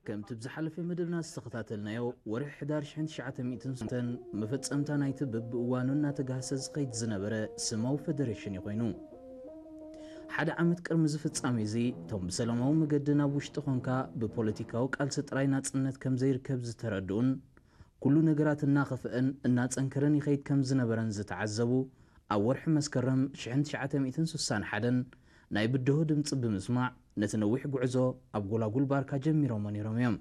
ከምቲ ብዝሓለፈ መደብና ዝተኸታተልናዮ፣ ወርሒ ሕዳር ሽሕን ትሽዓተ ሚእትን ሰማንያን መፈጸምታ ናይቲ በብእዋኑ እናተጋህሰ ዝኸይድ ዝነበረ ስማዊ ፈደሬሽን እዩ ኮይኑ። ሓደ ዓመት ቅድሚ እዚ ፍጻሜ እዚ፣ እቶም ብሰላማዊ መገዲ ናብ ውሽጢ ኾንካ ብፖለቲካዊ ቃልሲ ጥራይ ናጽነት ከም ዘይርከብ ዝተረድኡን፣ ኩሉ ነገራት እናኸፍአን እናጸንከረን ይኸይድ ከም ዝነበረን ዝተዓዘቡ፣ ኣብ ወርሒ መስከረም ሽሕን ትሽዓተ ሚእትን ስሳን ሓደን ናይ ብድሆ ድምጺ ብምስማዕ፣ ነቲ ነዊሕ ጉዕዞ ኣብ ጎላጉል ባርካ ጀሚሮሞ ነይሮም እዮም።